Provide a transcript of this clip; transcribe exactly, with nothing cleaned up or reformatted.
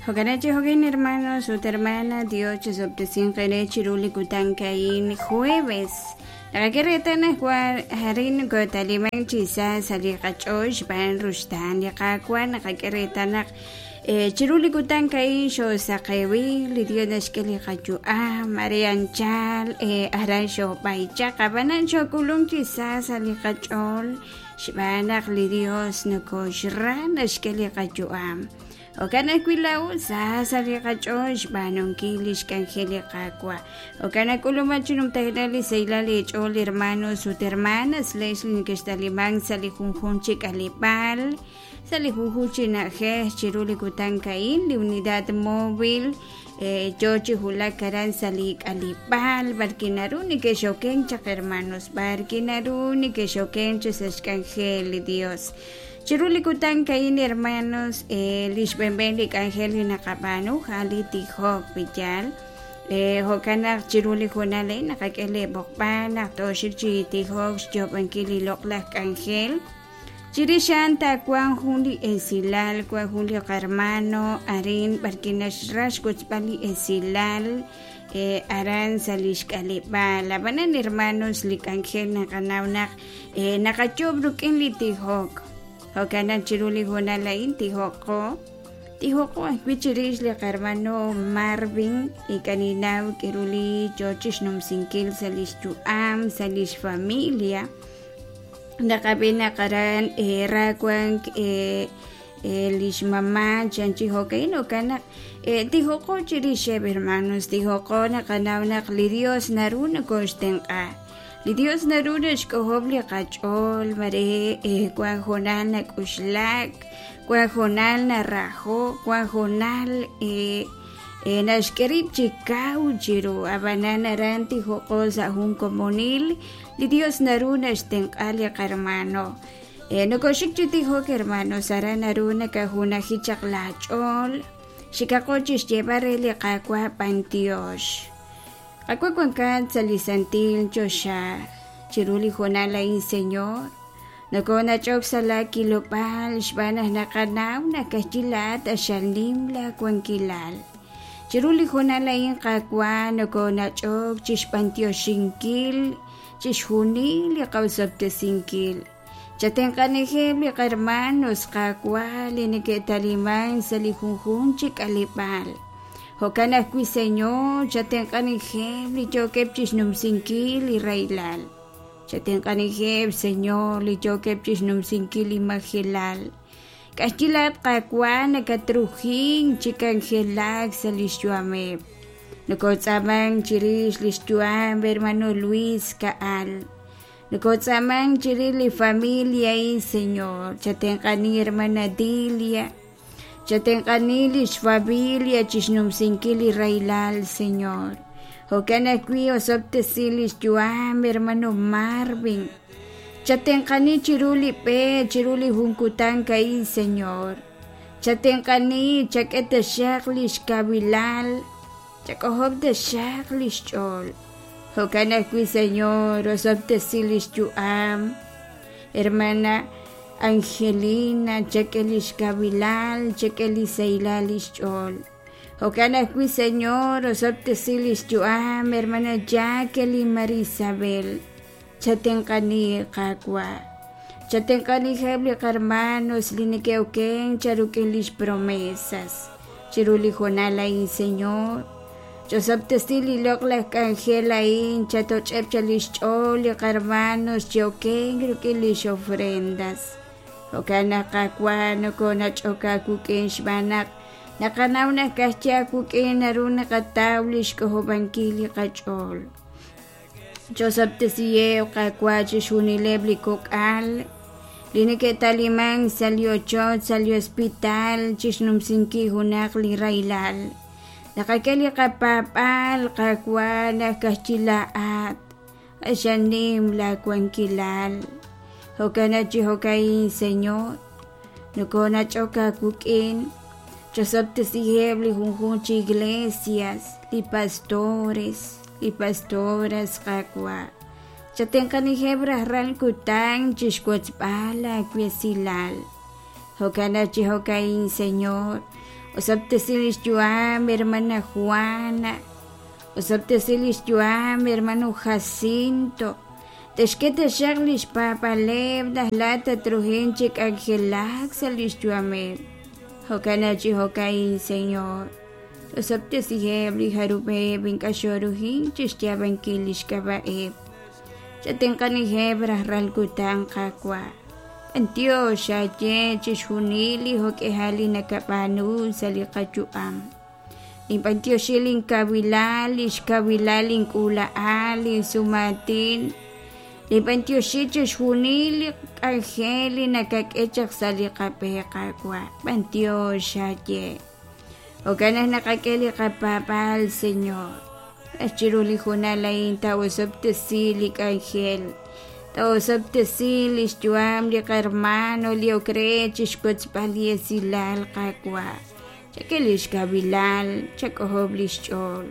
Jo'kan chi jo'kan hermanos ut hermana Dios chisob'tesin qere chiru li kutan ka'in jueves. Naqak'e reetal naq arin kotaliman chi sa sa' li qach'ool xb'aan ruxtaan li Qaawa' naqak'e reetal naq chiru li kutan ka'in xoosaqewil li Dios naxk'e li qayu'am are anchal aran xoob'aychaq ab'anan xookulunk chi sa sa' li qach'ool xb'aan naq li Dios nokoxra naxk'e li qayu'am. Jo'kan ajwi' laa'o sa sa' li qach'ool xb'aanunkil li xk'anjel li Qaawa'. Jo'kan nak'uluman chi numtajenaq li sahilal li ch'ool hermanos ut hermanas lex li neke'xtaliman sa' li junjunq chi k'aleb'aal sa' li junjunq chi na'ajej chiru li kutan ka'in li unidad móvil yo chi wulak aran sa' li k'aleb'aal b'arki naru neke'xoken chaq hermanos b'arki naru neke'xoken chi sa' xk'anjel li Dios. Chiru li kutan ka'in hermanos li xb'enb'en li k'anjel li naqab'aanu ja'an li tijok piyal jo'kan naq chiru li junal a'in naqak'e li b'oqb'al naq tooxik chi tijok xyoob'ankil li loq'laj k'anjel. Chirix a'an taawanq jun li esilal wan jun li qarmano arin b'arki naxra xwotzb'al li esilal aran sa' li xk'aleb'aal. Ab'anan hermanos li k'anjel naqanaw naq naqayoob' rik'in li tijok. Jo'kan naq chiru li junal a'in tijoqo tijoqo ajwi' chirix li qarmano Marvin ink'a' k'aru li yo chixnumsinkil sa' li xyu'am sa' li xfamilia. Naqab'i naq aran ra wank li xmama chan chi jo'kan jo'kan naq tijoqo chirixeb' hermanos tijoqo naqanaw naq li Dios naru nokoxtenq'a. Li Dios naru naxk'ojob' li qach'ool mare wan jonal nak'uxlak wan jonal narajo wan jonal naxk'e rib' chi kaw chiru ab'anan aran tijoqo sa' jun komonil li Dios naru naxtenq'a li qarmano. Nokoxik chi tijok hermanos aran naru nakajunaji chaq laach'ool xikaqo chi xyeeb'al re li Qaawa' b'antiox. Qaawa' wankat sa' li santil choxa chiru li junal a'in Señor nokonach'ok sa' la kilob'aal xb'aan naq naqanaw naq ka'ajwi' laa'at axal nim laawankilal. Chiru li junal a'in Qaawa' nokonach'ok chi xb'antioxinkil chixjunil li qawsob'tesinkil. Chatenq'anijeb' li qarmanos Qaawa' li neke'taliman sa' li junjunq chi k'aleb'aal. Jo'kan ajwi' Señor chatenq'anijeb' li yookeb' chixnumsinkil li rahilal. Chatenq'anijeb' Señor li yookeb' chixnumsinkil li majelal. Ka'ajwi' laa'at Qaawa' nakatrujink chi k'anjelak sa' li xyu'ameb'. Nokotz'aamank chirix li xyu'am hermano Luis Ka'al. Nokotz'aamank chirix li familia a'in Señor. Chatenq'ani hermana Dilia. Chatenq'ani li xfamilia chixnumsinkil li rahilal Señor. Jo'kan ajwi' osob'tesi li xyu'am hermano Marvin. Chatenq'ani chiru li b'e chiru li jun kutan ka'in Señor. Chatenq'ani chak'e taxaq li xkabilal chak'ojob' taxaq li xch'ool. Jo'kan ajwi' Señor osob'tesi li xyu'am hermana Angelina chak'e li xkabilal chak'e li sahilal li xch'ool. Jo'kan ajwi' Señor osob'tesi li xyu'am hermana Jacqueline Marisabel. Chatenq'ani Qaawa'. Chatenq'anijeb' li qarmanos li neke'oken charuk'in lix promesas chiru li junal a'in Señor. Chosob'tesi li loq'laj k'anjel a'in chatoch'eb' cha li xch'ool li qarmanos che'oken rik'in lix ofrendas. Jo'kan naq Qaawa' nokonach'ok aawik'in xb'aan naq naqanaw naq ka'ajwi' aawik'in naru naqataw li xk'ojob'ankil li qach'ool. Chosob'tesiheb' Qaawa' chixjunileb' li kok'al li neke'taliman sa' li ochoch sa' li hospital chixnumsinkil junaq li rahilal. Naqak'e li qapaab'aal Qaawa' naq ka'ajwi' laa'at axal nim laawankilal. Jo'kan chi jo'ka'in Señor nokonach'ok aawik'in chosob'tesiheb' li junjunq chi iglesias li pastores li pastoras Qaawa'. Chatenq'anijeb' rajlal kutan chixwotzb'al laawesilal. Jo'kan chi jo'ka'in Señor Osob'tesi lix yu'am hermana Juana. Osob'tesi lix yu'am hermano Jacinto. Texk'e taxaq lix paab'aaleb' naq laa'at tatruhin chi k'anjelak sa' lix yu'ameb'. Jo'kan chi jo'ka'in, Señor. Osob'tesiheb' li jarub'eb' ink'a' xoruhin chixyaab'ankil lix k'ab'a'eb'. Chatenq'aniheb' rajlal kutan, Qaawa'. B'antiox aaye chixjunil li jo'k'ihal li nakab'aanu sa' li qayu'am. Ninb'antioxi linkawilal, lix kawilal link'uula'al, linsumaatin. Ninb'antioxi chixjunil li k'anjel li nakak'e chaq sa' li qab'e, Qaawa'. B'antiox aaye. Jo'kan naq naqak'e li qapaab'aal, Señor. Raj chiru li hoonal a'in tawosob'tesi li k'anjel. Tawosob'tesi lix yu'am li qahermano li ok re chixwotzb'al li esilal, Qaawa'. Chak'e lix kawilal, chak'ojob' lix ch'ool.